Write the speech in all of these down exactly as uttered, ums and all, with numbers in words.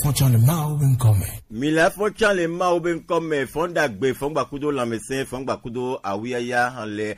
Fɔtsɔ le Mawu be ŋkɔ me. Mi le fɔtsɔ le Mawu be ŋkɔ me. Fɔn dagbe, fɔn gbakudo lãmesẽ, fɔn gbakudo awuyaya le.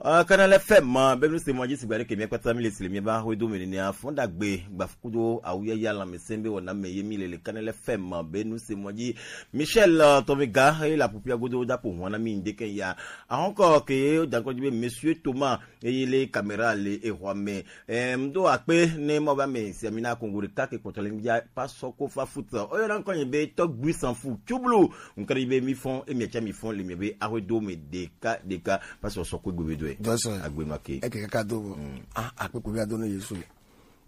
Uh, Canal F M, be nu se mɔ dzi sigba ɖe ke mi kpata mi le sile mi ba hwe do me nenia. Fɔn dagbe, gbakudo awuyaya lãmesẽ be wɔna me ye mi le le Canal F M, be nu se mɔ dzi. Michel, uh, Tomiga, he la pupia godo da po hwana mi ndeke ya. Ahɔnkɔ ke ye dankɔ dzi be Monsieur Thomas, eye le caméra le exɔa me. Em, do akpe ne ma va me se mi na Congo ɖeka ke kpɔtɔ le mi dza pasɔ ko fa foot. Oyo na ŋkɔ nye be Tɔgbui Sanfu Tublu. Ŋkɔ ɖe be mi fɔn, emi tsa mi fɔn le mi be ahwe do me ɖeka ɖeka. Pasɔ sɔ ko gbe be do e. Dɔsɔ. Agbe ma ke. Eke kaka do bo. Mm. Ah, akpe ko bi ado ne Yesu.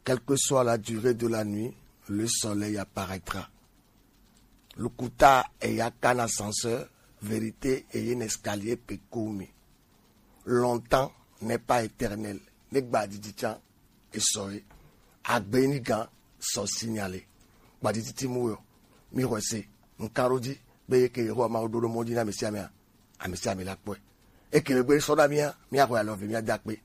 Quelle que soit la durée de la nuit, le soleil apparaîtra. Lukuta eya kana ascenseur, vérité eye ne escalier pe kumi. Longtemps n'est pas éternel. Ne gbadidi tsa esɔ ye. Agbe ni gan sɔ signalé. Gbadidi ti mu yo. Mi xɔe se. Nkan ɖo dzi be ye ke Yehowa Mawu ɖo ɖo mɔ dzi na ame sia amea, ame sia ame la kpɔe. Eke be gbe sɔ na mía, mía xɔe alɔ ve mía da kpe.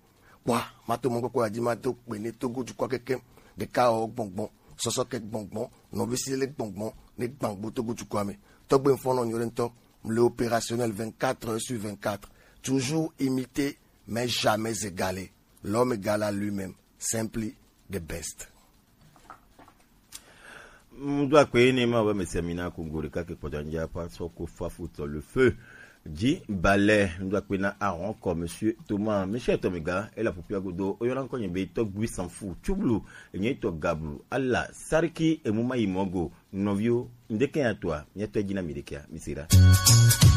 Kpɔa, ma to mɔ kɔkɔ ya dzi ma to kpe ne Togo dukɔ keke. Ɖeka wɔ gbɔngbɔn, sɔsɔ ke gbɔngbɔn, nɔvi si le gbɔngbɔn, ne gbangbo Togo dukɔ me. Tɔgbe fɔnɔ nyɔ ɖe ŋutɔ, le opérationnel vingt-quatre heures sur vingt-quatre. Toujours imité, mais jamais égalé. L'homme égal à lui-même, simply the best. Ŋdɔ akpe ne ma va mese mina Congo ɖeka ke kpɔtɔ ŋdza pa sɔ ko fa foot le feu. Dzi balɛ ŋdɔ akpe na ahɔn kɔ Monsieur Thomas, Michel Tomiga, ela pupia godo, oyɔna ŋkɔ nye be Tɔgbui Sanfu Tublu, enye tɔ Gablu, ala Sariki emu ma yi mɔ go, nɔviwo, ŋdeke ya toa, miatɔ dzi na mi ɖekea, mi se ɖa.